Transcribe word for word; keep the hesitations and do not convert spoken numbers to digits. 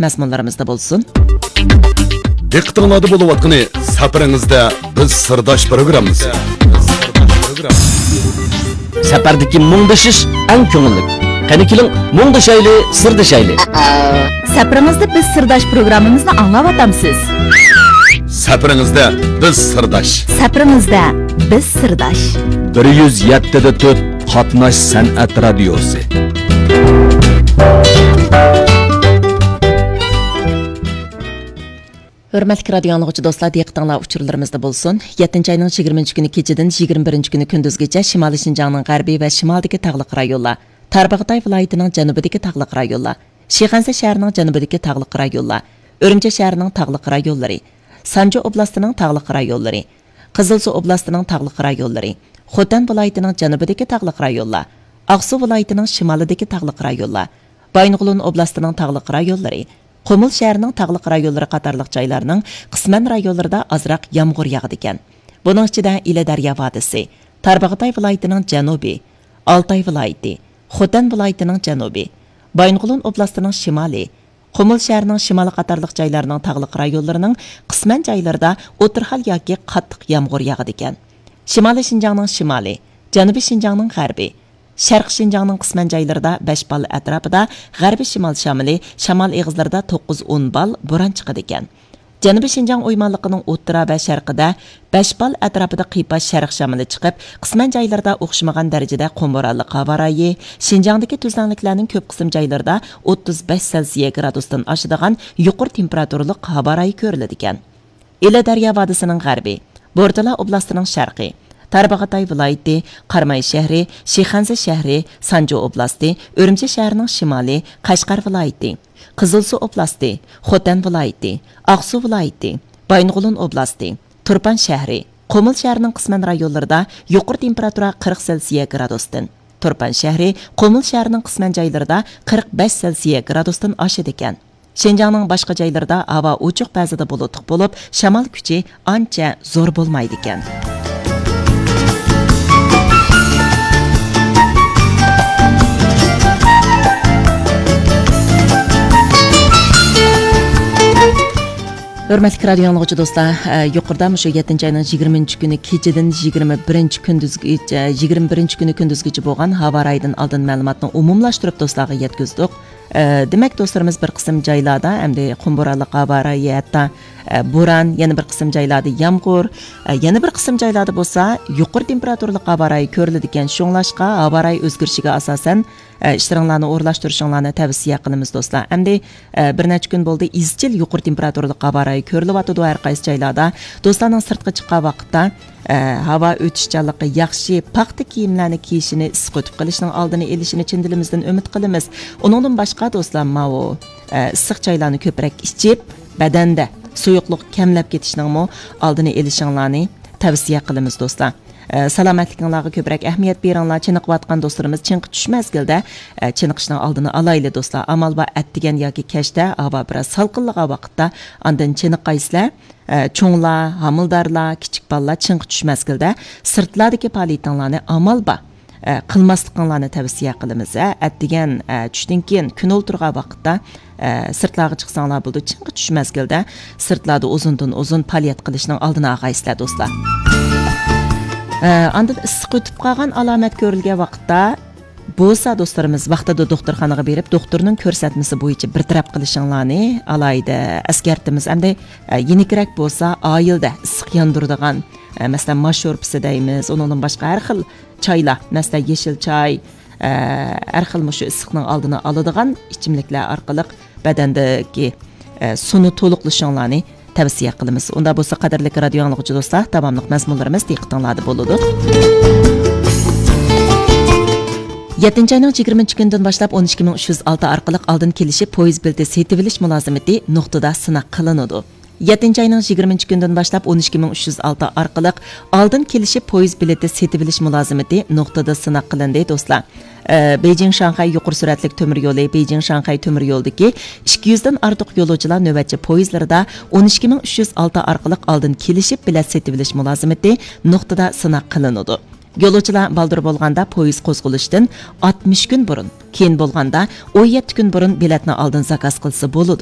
مەزمۇنلىرىمىزدا بولسۇن. دىققىتىڭلاردا بولۇۋاتقىنى سەپىرىڭىزدە بىز سىرداش پروگراممىسى. سەپەردىكى مۇڭدىشىش ئەڭ كۆڭۈللۈك. قېنى كېلىڭ، مۇڭدىشايلى، سىردىشايلى. سەپىرىڭىزدە بىز سىرداش پروگراممىمىزنى ئاڭلاۋاتامسىز. سەپىرىڭىزدە بىز سىرداش. سەپىرىڭىزدە بىز سىرداش. بىر يۈز يەتتە دە تۆت قاتناش سەنئەت رادىيوسى. ھۆرمەتلىك رادىيو ئاڭلىغۇچى دوستلار، دىققىتىڭلار ئۇچۇرلىرىمىزدا بولسۇن. يەتتىنچى ئاينىڭ يىگىرمىنچى كۈنى كېچىدىن يىگىرمە بىرىنچى كۈنى كۈندۈزگىچە شىمالىي شىنجاڭنىڭ غەربى ۋە شىمالىدىكى تاغلىق رايونلار، تارباغاتاي ۋىلايىتىنىڭ جەنۇبىدىكى تاغلىق رايونلار، شىخەنزە شەھىرىنىڭ جەنۇبىدىكى تاغلىق رايونلار، ئۈرۈمچى شەھىرىنىڭ تاغلىق رايونلىرى، سانجى ئوبلاستىنىڭ تاغلىق رايونلىرى، قىزىلسۇ ئوبلاستىنىڭ تاغلىق رايونلىرى، خوتەن ۋىلايىتىنىڭ جەنۇبىدىكى تاغلىق رايونلار، ئاقسۇ ۋىلايىتىنىڭ شىمالىدىكى تاغلىق رايونلار، بايىنغولىن ئوبلاستىنىڭ تاغلىق رايونلىرى، قۇمۇل شەھىرىنىڭ تاغلىق رايونلىرى قاتارلىق جايلارنىڭ قىسمەن رايونلىرىدا ئازراق يامغۇر ياغىدىكەن. بۇنىڭ ئىچىدە ئىلى دەريا ۋادىسى، تارباغاتاي ۋىلايىتىنىڭ جەنۇبى، ئالتاي ۋىلايىتى، خوتەن ۋىلايىتىنىڭ جەنۇبى، بايىنغولىن ئوبلاستىنىڭ شىمالى، قۇمۇل شەھىرىنىڭ شىمالى قاتارلىق جايلارنىڭ تاغلىق رايونلىرىنىڭ قىسمەن جايلىرىدا ئوتتۇرا ھال ياكى قاتتىق يامغۇر ياغىدىكەن. شىمالىي شىنجاڭنىڭ شىمالى، جەنۇبىي شىنجاڭنىڭ غەربى، شەرقىي شىنجاڭنىڭ قىسمەن جايلىرىدا بەش باللا ئەتراپىدا غەربىي شىمال شامىلى، شامال ئېغىزلىرىدا توققۇز ئون بال بوران چىقىدىكەن. جەنۇبىي شىنجاڭ ئويمانلىقىنىڭ ئوتتۇرا ۋە شەرقىدە بەش بال ئەتراپىدا قىيپاش شەرق شامىلى چىقىپ، قىسمەن جايلىرىدا ئوخشىمىغان دەرىجىدە قۇم بورانلىق ھاۋا رايى، شىنجاڭدىكى تۈزلەڭلىكلەرنىڭ كۆپ قىسىم جايلىرىدا ئوتتۇز بەش سېلسىيە گرادۇستىن ئاشىدىغان يۇقىرى تېمپېراتۇرىلىق ھاۋا رايى كۆرۈلىدىكەن. ئىلى دەريا ۋادىسىنىڭ غەربى، بورتالا ئوبلاستىنىڭ شەرقى، تارباغاتاي ۋىلايىتى، قاراماي شەھىرى، شىخەنزە شەھىرى، سانجى ئوبلاستى، ئۈرۈمچى شەھىرىنىڭ شىمالى، قەشقەر ۋىلايىتى، قىزىلسۇ ئوبلاستى، خوتەن ۋىلايىتى، ئاقسۇ ۋىلايىتى، بايىنغولىن ئوبلاستى، تۇرپان شەھىرى، قۇمۇل شەھىرىنىڭ قىسمەن رايونلىرىدا يۇقىرى تېمپېراتۇرا قىرىق سېلسىيە گرادۇستىن، تۇرپان شەھىرى، قۇمۇل شەھىرىنىڭ قىسمەن جايلىرىدا قىرىق بەش سېلسىيە گرادۇستىن ئاشىدىكەن. شىنجاڭنىڭ باشقا جايلىرىدا ھاۋا ئوچۇق، بەزىدە بۇلۇتلۇق بولۇپ، شامال كۈچى ئانچە زور بولمايدىكەن. ھۆرمەتلىك رادىيو ئاڭلىغۇچى دوستلار، ئە، يۇقىرىدا مۇشۇ يەتتىنچى ئاينىڭ يىگىرمىنچى كۈنى كېچىدىن يىگىرمە بىرىنچى كۈندۈزگىچە، يىگىرمە بىرىنچى كۈنى كۈندۈزگىچە بولغان ھاۋا رايىدىن ئالدىن مەلۇماتنى ئومۇملاشتۇرۇپ دوستلارغا يەتكۈزدۇق. ئە، دېمەك، دوستلىرىمىز بىر قىسىم جايلاردا ئەمدى قۇم بورانلىق ھاۋا رايى، ھەتتا، ئە، بوران، يەنە بىر قىسىم جايلاردا يامغۇر، ئە، يەنە بىر قىسىم جايلاردا بولسا يۇقىرى تېمپېراتۇرىلىق ھاۋا رايى كۆرۈلىدىكەن. شۇڭلاشقا، ھاۋا رايى ئۆزگىرىشىگە ئاساسەن، ئە، ئىشلىرىڭلارنى ئورۇنلاشتۇرۇشۇڭلارنى تەۋسىيە قىلىمىز، دوستلار. ئەمدى، ئە، بىر نەچچە كۈن بولدى، ئىزچىل يۇقىرى تېمپېراتۇرىلىق ھاۋا رايى كۆرۈلۈۋاتىدۇ ھەر قايسى جايلاردا. دوستلارنىڭ سىرتقا چىققان ۋاقىتتا، ئە، ھاۋا ئۆتۈشچانلىقى ياخشى، پاختا كىيىملەرنى كىيىشىنى، ئىسسىق ئۆتۈپ قېلىشنىڭ ئالدىنى ئېلىشىنى چىن دىلىمىزدىن ئۈمىد قىلىمىز. ئۇنىڭدىن باشقا، دوستلار، ماۋۇ، ئە، ئىسسىق چايلارنى كۆپرەك ئىچىپ، بەدەندە سۇيۇقلۇق كەملەپ كېتىشنىڭمۇ ئالدىنى ئېلىشىڭلارنى تەۋسىيە قىلىمىز، دوستلار. ئە، سالامەتلىكىڭلارغا كۆپرەك ئەھمىيەت بېرىڭلار. چېنىقىۋاتقان دوستلىرىمىز چېنىقىش مەزگىلىدە، ئە، چېنىقىشنىڭ ئالدىنى ئالايلى، دوستلار. ئامال بار، ئەتىگەن ياكى كەچتە ھاۋا بىراز سالقىنلىغان ۋاقىتتا ئاندىن چېنىقايسىلەر. ئە، چوڭلار، ھامىلىدارلار، كىچىك بالىلار چىڭقى چۈش مەزگىلىدە سىرتلاردىكى پائالىيىتىڭلارنى ئامال بار، ئە، قىلماسلىقىڭلارنى تەۋسىيە قىلىمىز. ئە، ئەتىگەن، ئە، چۈشتىن كېيىن كۈن ئولتۇرغان ۋاقىتتا، ئە، سىرتلارغا چىقساڭلار بولىدۇ. چىڭقى چۈش مەزگىلىدە سىرتلاردا ئۇزۇندىن ئۇزۇن پائالىيەت قىلىشنىڭ ئالدىنى ئالغايسىلەر، دوستلار. ئە، ئاندىن ئىسسىق ئۆتۈپ قالغان ئالامەت كۆرۈلگەن ۋاقىتتا، بولسا، دوستلىرىمىز ۋاقتىدا دوختۇرخانىغا بېرىپ، دوختۇرنىڭ كۆرسەتمىسى بويىچە بىر تەرەپ قىلىشىڭلارنى ئالاھىدە ئەسكەرتىمىز. ئەمدى، ئە، يېنىكرەك بولسا، ئائىلىدە ئىسسىق ياندۇرىدىغان، ئە، مەسىلەن، ماش شورپىسى دەيمىز، ئۇنىڭدىن باشقا ھەر خىل چايلار، مەسىلەن، يېشىل چاي، ئە، ھەر خىل مۇشۇ ئىسسىقنىڭ ئالدىنى ئالىدىغان ئىچىملىكلەر ئارقىلىق بەدەندىكى، ئە، سۇنى تولۇقلىشىڭلارنى تەۋسىيە قىلىمىز. ئۇنداق بولسا، قەدىرلىك رادىيو ئاڭلىغۇچى دوستلار، داۋاملىق مەزمۇنلىرىمىز دىققىتىڭلاردا بولىدۇ. يەتتىنچى ئاينىڭ يىگىرمىنچى كۈنىدىن باشلاپ ئون ئىككى مىڭ ئۈچ يۈز ئالتە ئارقىلىق ئالدىن كېلىشىپ پويىز بېلىتى سېتىۋېلىش مۇلازىمىتى نۇقتىدا سىناق قىلىنىدۇ. يەتتىنچى ئاينىڭ يىگىرمىنچى كۈنىدىن باشلاپ ئون ئىككى مىڭ ئۈچ يۈز ئالتە ئارقىلىق ئالدىن كېلىشىپ پويىز بېلىتى سېتىۋېلىش مۇلازىمىتى نۇقتىدا سىناق قىلىندى، دوستلار. ئە، بېيجىڭ شاڭخەي يۇقىرى سۈرئەتلىك تۆمۈر يولى، بېيجىڭ شاڭخەي تۆمۈر يولىدىكى ئىككى يۈزدىن ئارتۇق يولۇچىلار نۆۋەتچى پويىزلىرىدا ئون ئىككى مىڭ ئۈچ يۈز ئالتە ئارقىلىق ئالدىن كېلىشىپ بېلەت سېتىۋېلىش مۇلازىمىتى نۇقتىدا سىناق قىلىنىدۇ. يولۇچىلار بالدۇر بولغاندا پويىز قوزغىلىشتىن ئاتمىش كۈن بۇرۇن، كېيىن بولغاندا ئون يەتتە كۈن بۇرۇن بېلەتنى ئالدىن زاكاز قىلسا بولىدۇ.